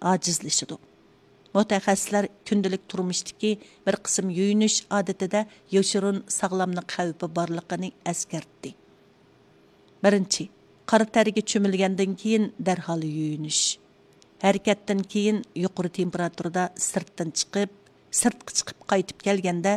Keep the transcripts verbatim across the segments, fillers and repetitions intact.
ئاجىزلىشىدۇ. مۇتەخەسسىسلەر كۈندىلىك تۇرمۇشتىكى بىر قىسىم يۇيۇنۇش ئادىتىدە يوشۇرۇن ساغلاملىق خەۋپى بارلىقىنى ئەسكەرتتى. بىرىنچى، قارا تەرگە چۆمۈلگەندىن كېيىن دەرھال يۇيۇنۇش. ھەرىكەتتىن كېيىن يۇقىرى تېمپېراتۇرىدا سىرتتىن چىقىپ، سىرتقا چىقىپ قايتىپ كەلگەندە،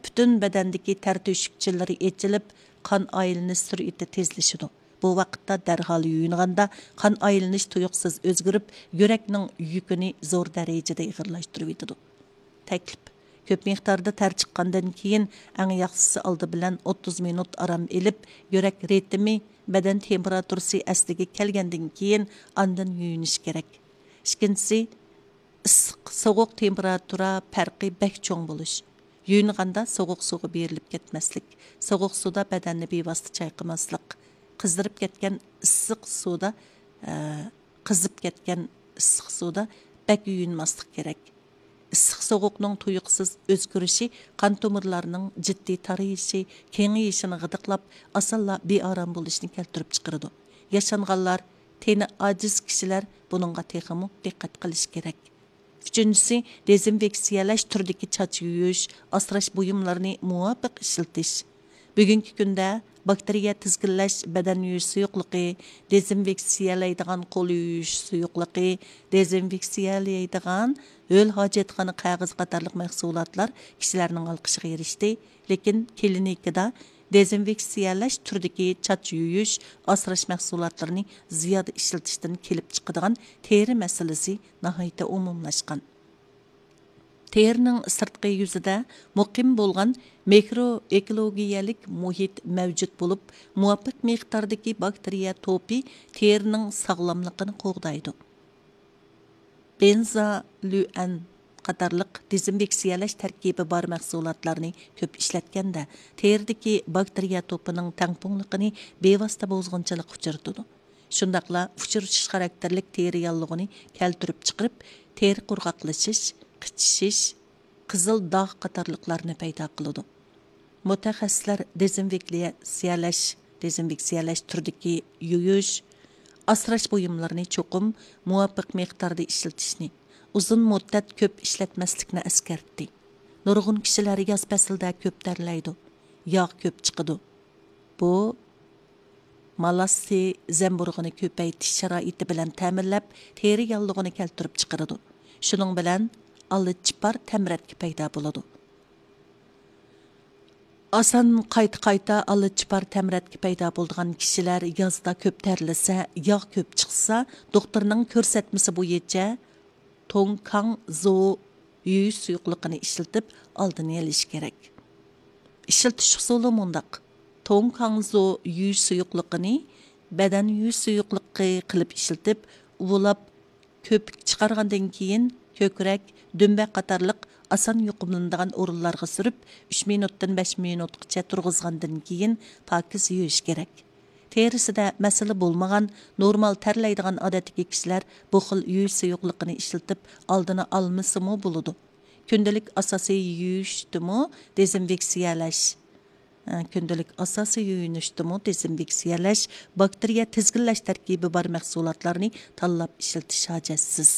پۈتۈن بەدەندىكى تەر تۆشۈكچىلىرى ئېچىلىپ، قان ئايلىنىش سۈرئىتى تېزلىشىدۇ. بۇ ۋاقىتتا دەرھال يۇيۇنغاندا، قان ئايلىنىش تۇيۇقسىز ئۆزگىرىپ، يۈرەكنىڭ يۈكىنى زور دەرىجىدە ئېغىرلاشتۇرۇۋېتىدۇ. تەكلىپ: كۆپ مىقداردا تەر چىققاندىن كېيىن، ئەڭ ياخشىسى ئالدى بىلەن ئوتتۇز مىنۇت ئارام ئېلىپ، يۈرەك رىتىمى، بەدەن تېمپېراتۇرىسى ئەسلىگە كەلگەندىن كېيىن ئاندىن يۇيۇنۇش كېرەك. ئىككىنچىسى، ئىسسىق، سوغۇق تېمپېراتۇرا پەرقى بەك چوڭ بولۇش. يۇيۇنغاندا سوغۇق سۇغا بېرىلىپ كەتمەسلىك، سوغۇق سۇدا بەدەننى بىۋاسىتە چايقىماسلىق، قىزىرىپ كەتكەن ئىسسىق سۇدا، ئە، قىزىپ كەتكەن ئىسسىق سۇدا بەك يۇيۇنماسلىق كېرەك. ئىسسىق سوغۇقنىڭ تۇيۇقسىز ئۆزگىرىشى قان تومۇرلارنىڭ جىددىي تارىيىشى، كېڭىيىشىنى غىدىقلاپ، ئاسانلا بىئارام بولۇشنى كەلتۈرۈپ چىقىرىدۇ. ياشانغانلار، تېنى ئاجىز كىشىلەر بۇنىڭغا تېخىمۇ دىققەت قىلىشى كېرەك. ئۈچىنچىسى، دېزىنفېكسىيەلەش تۈرىدىكى چاچ يۇيۇش، ئاسراش بۇيۇملىرىنى مۇۋاپىق ئىشلىتىش. بۈگۈنكى كۈندە باكتېرىيە تىزگىنلەش بەدەن يۇيۇش سۇيۇقلۇقى، دېزىنفېكسىيەلەيدىغان قول يۇيۇش سۇيۇقلۇقى، دېزىنفېكسىيەلەيدىغان ھۆل ھاجەتخانا قەغىزى قاتارلىق مەھسۇلاتلار كىشىلەرنىڭ ئالقىشىغا ئېرىشتى. لېكىن كلىنىكىدا دېزىنفېكسىيەلەش تۈرىدىكى چاچ يۇيۇش، ئاسراش مەھسۇلاتلىرىنى زىيادە ئىشلىتىشتىن كېلىپ چىقىدىغان تېرە مەسىلىسى ناھايىتى ئومۇملاشقان. تېرىنىڭ سىرتقى يۈزىدە مۇقىم بولغان مىكرو ئېكولوگىيەلىك مۇھىت مەۋجۇت بولۇپ، مۇۋاپىق مىقداردىكى باكتېرىيە توپى تېرىنىڭ ساغلاملىقىنى قوغدايدۇ. بېنزالۈئەن قاتارلىق دېزىنفېكسىيەلەش تەركىبى بار مەھسۇلاتلارنى كۆپ ئىشلەتكەندە، تېرىدىكى باكتېرىيە توپىنىڭ تەڭپۇڭلۇقىنى بىۋاسىتە بۇزغۇنچىلىققا ئۇچرىتىدۇ. شۇنداقلا ئۇچرىشىش خاراكتېرلىك تېرە ياللۇغىنى كەلتۈرۈپ چىقىرىپ، تېرە قۇرغاقلىشىش، قىچىشىش، قىزىل داغ قاتارلىقلارنى پەيدا قىلىدۇ. مۇتەخەسسىسلەر دېزىنفېكسىيەلەش، دېزىنفېكسىيەلەش تۈرىدىكى يۇيۇش، ئاسراش بۇيۇملىرىنى چوقۇم مۇۋاپىق مىقداردا ئىشلىتىشنى، ئۇزۇن مۇددەت كۆپ ئىشلەتمەسلىكنى ئەسكەرتتى. نۇرغۇن كىشىلەر ياز پەسلىدە كۆپ تەرلەيدۇ، ياغ كۆپ چىقىدۇ. بۇ مالاسسى زەمبۇرۇغىنى كۆپەيتىش شارائىتى بىلەن تەمىنلەپ، تېرە ياللۇغىنى كەلتۈرۈپ چىقىرىدۇ. شۇنىڭ بىلەن ئالىچىپار تەمرەتكە پەيدا بولىدۇ. ئاسان قايتا-قايتا ئالىچىپار تەمرەتكە پەيدا بولىدىغان كىشىلەر يازدا كۆپ تەرلىسە، ياغ كۆپ چىقسا، دوختۇرنىڭ كۆرسەتمىسى بويىچە توڭكاڭزو يۇيۇش سۇيۇقلۇقىنى ئىشلىتىپ ئالدىنى ئېلىش كېرەك. ئىشلىتىش ئۇسۇلى مۇنداق: توڭكاڭزو يۇيۇش سۇيۇقلۇقىنى بەدەن يۇيۇش سۇيۇقلۇقى قىلىپ ئىشلىتىپ، ئۇۋىلاپ، كۆپۈك چىقارغاندىن كېيىن، كۆكرەك، دۈمبە قاتارلىق ئاسان يۇقۇملىنىدىغان ئورۇنلارغا سۈرۈپ، ئۈچ مىنۇتتىن بەش مىنۇتقىچە تۇرغۇزغاندىن كېيىن، پاكىز يۇيۇش كېرەك. تېرىسىدە مەسىلە بولمىغان، نورمال تەرلەيدىغان ئادەتتىكى كىشىلەر بۇ خىل يۇيۇش سۇيۇقلۇقىنى ئىشلىتىپ، ئالدىنى ئالمىسىمۇ بولىدۇ. كۈندىلىك ئاساسىي يۇيۇشتىمۇ دېزىنفېكسىيەلەش، ئە، كۈندىلىك ئاساسىي يۇيۇنۇشتىمۇ دېزىنفېكسىيەلەش، باكتېرىيە تىزگىنلەش تەركىبى بار مەھسۇلاتلارنى تاللاپ ئىشلىتىش ھاجەتسىز.